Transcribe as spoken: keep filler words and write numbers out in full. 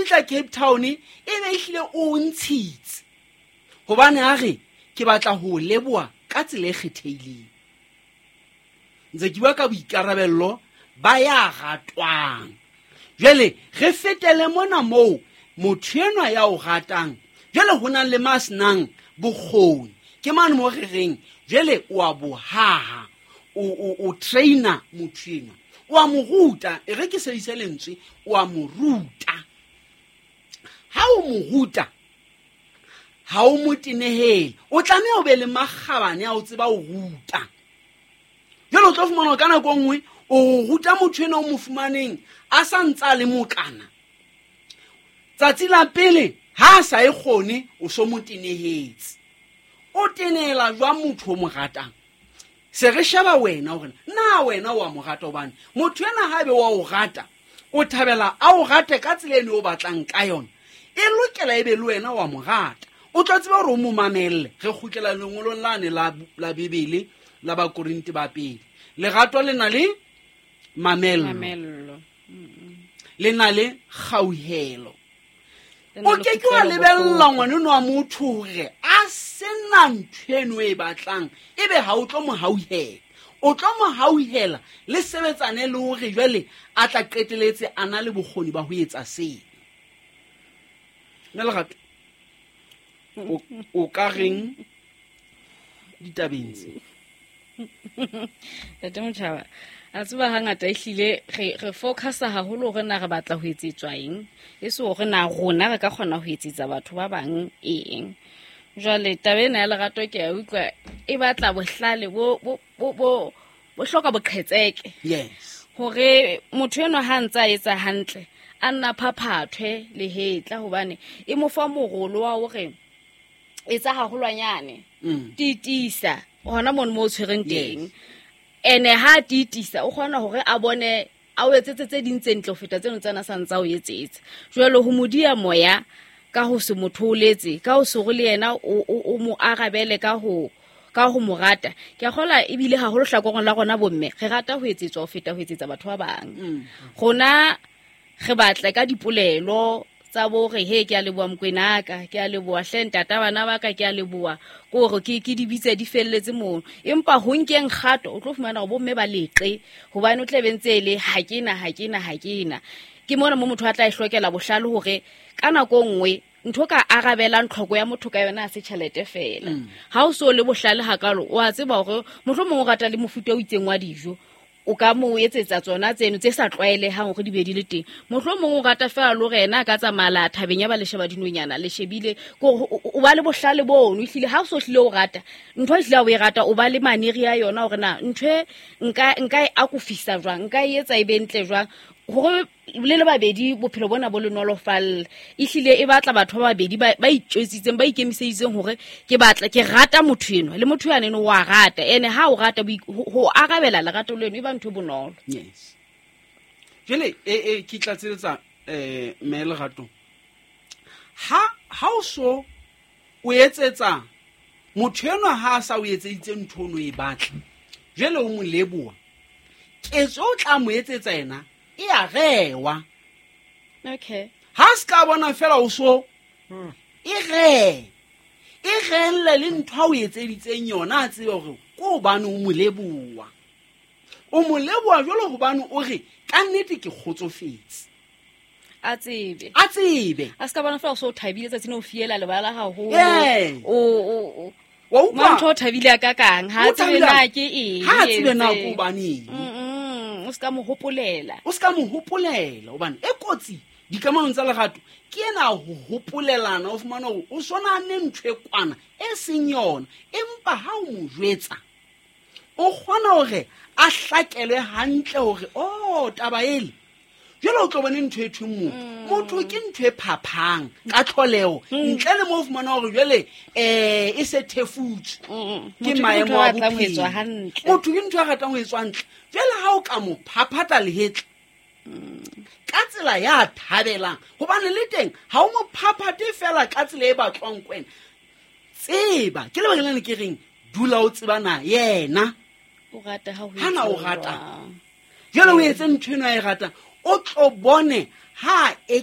fihla Cape Town e be ehlile o ntshitse, hobane a re ke batla ho leboha ka tsela e kgethehileng. Ntse ke bua ka boikarabello ba ya ratwang. Jwale re fetele mona moo motho enwa ya o ratang, jwale ho na le ma senang bokgoni. Ke mane mo re reng jwale o a bohaha, o, o, o trainer motho enwa, o a mo ruta. E re ke sebedise lentswe, o a mo ruta. Ha o mo ruta, ha o mo tenehele, o tlameha o be le makgabane a o tseba ho ruta. Jwale o tlo fumana hore ka nako e nngwe o ruta motho enwa o mo fumaneng a sa ntse a le mokana. Tsatsi la pele ha a sa e kgone, o so mo tenehetse. O tenehela jwang motho o mo ratang? Se re sheba wena hore na wena wa mo rata, hobane motho enwa ha ebe wa o rata, o thabela a o rate ka tsela eno o batlang ka yona. E lokela ebe le wena wa mo rata. O tlo tseba hore o mo mamelle. Re kgutlela lengolong lane la, la Bibele la Bakorinte ba pele. Lerato le na le mamello. Mamello. Le na le kgauhelo. Le na O le ke ke wa kutlwelo lebella bohloko. ngwaneno wa motho hore a sena ntho eno e batlang, ebe ha o tlo mo hauhela. O tlo mo hauhela le sebetsane le hore jwale a tla qeteletse a na le bokgoni ba ho etsa seo. Mme Lerato, o, o ka reng ditabeng tse? Ntate Motjhaba, a tseba hangata ehlile re, re focusa haholo hore na re batla ho etsetswa eng, e se hore na rona re ka kgona ho etsetsa batho ba bang eng. Jwale taba ena ya lerato ke a utlwa e batla bohlale bo, bo, bo, bo, bo hloka boqhetseke. Yes. Hore motho enwa ha ntse a etsa hantle, a nna phaphathwe lehetla, hobane e mo fa morolo wa hore etsa haholwanyane. Mm. Tiitisa hona mono mo o tshwereng Yes. teng. Ene ha a tiitisa, o kgona hore a bone a o etsetse tse ding tse ntle ho feta tseno tsena sa ntsa o etsetsa. Jwale ho mo diya moya ka ho se mo thooletse, ka ho se hore le yena o, o, o mo arabele ka ho, ka ho mo rata. Ke a kgolwa ebile haholo hlakoreng la rona bomme, re rata ho etsetswa ho feta ho etsetsa batho ba bang. Mm. Rona re batla ka dipolelo tsa bo re, he, ke a leboha Mokoena ka, ke a leboha hle ntata bana ba ka, ke a leboha, ke hore ke, ke di bitse di felletse mono. Empa ho nkeng kgato, o tlo fumana hore bomme ba leqe, hobane o tla be ntse e le ha ke na, ha ke na, ha ke na. Ke mona mo motho a tla e hlokela bohlale hore ka nako e nngwe ntho ka arabelang tlhoko ya motho ka yona ha se tjhelete feela. Mm. Ha o so le bohlale hakalo, o a tseba hore mohlomong o rata le mofuta o itseng wa dijo, o ka mo etsetsa tsona tseno tse sa tlwaelehang hore di be di le teng. Mohlomong o rata feela le hore yena a ka tsamaya la thabeng ya ba le sheba dinonyana, le shebile, ke hore o, o, o ba le bohlale bono. Ehlile ha o so hlile o rata ntho, ehlile ha o e rata, o ba le maneri a yona hore na ntho e nka, nka e akofisa jwang, nka e etsa e be ntle jwang, hore le le babedi bophelo bona bo le nolofalle. Ehlile e batla batho ba babedi ba, ba itjwetsitseng, ba ikemiseditseng hore ke batla, ke rata motho enwa, le motho yane o a rata. Ene ha o rata boi-, ho, ho arabela lerato leno e ba ntho e bonolo. Yes. Jwale, e, e, ke tlatseletsa, eh, mme Lerato. Ha, ha o so o etsetsa motho enwa ha a sa o etseditse ntho ono e batla, jwale o mo leboha, ketso o tla mo etsetsa yena e a rewa. Okay. Ha se ka bona fela o so e re, e relle le ntho a o etseditseng yona, a tsebe hore ke hobane o mo leboha. O mo leboha jwalo hobane o re ka nnete ke kgotsofetse. A tsebe. A tsebe. A se ka bona fela o so thabile tsatsi leo o fiela lebala haholo. Yes. O, o, o. Wa utlwa? Mantho o thabile a kakang, ha a O tsebe thabile na ke eng Ha a tsebe na e ke entseng. hobaneng. Mm-mm, o se ka mo hopolela. O se ka mo hopolela, hobane e kotsi dikamanong tsa lerato ke ena ho hopolelana, o fumana hore o sona ne ntho e kwana e seng yona, empa ha o mo jwetsa o kgona hore a hlakelwe hantle hore oh taba ele. Jwale o tlo bone ntho e thweng motho. Mm. Motho ke ntho e phaphang ka tlholeho, Mm. ntle le moo o fumana hore jwale, eh, e se thefutswe Mm. ke Motho ke maemo motho a a ratang ho bophelo. etswa hantle. Motho ke ntho a ratang ho etswa hantle. Jwale ha o ka mo phaphatha lehetla ka tsela ya thabelang, hobane le teng ha o mo phaphate fela ka tsela e batlwang ke wena. Tseba, ke lebaka lena ke reng dula o tseba na yena O rata ha ho Ha na o etsuwa rata. jwang. Jwale o etse ntho eno a e ratang, o tlo bone ha e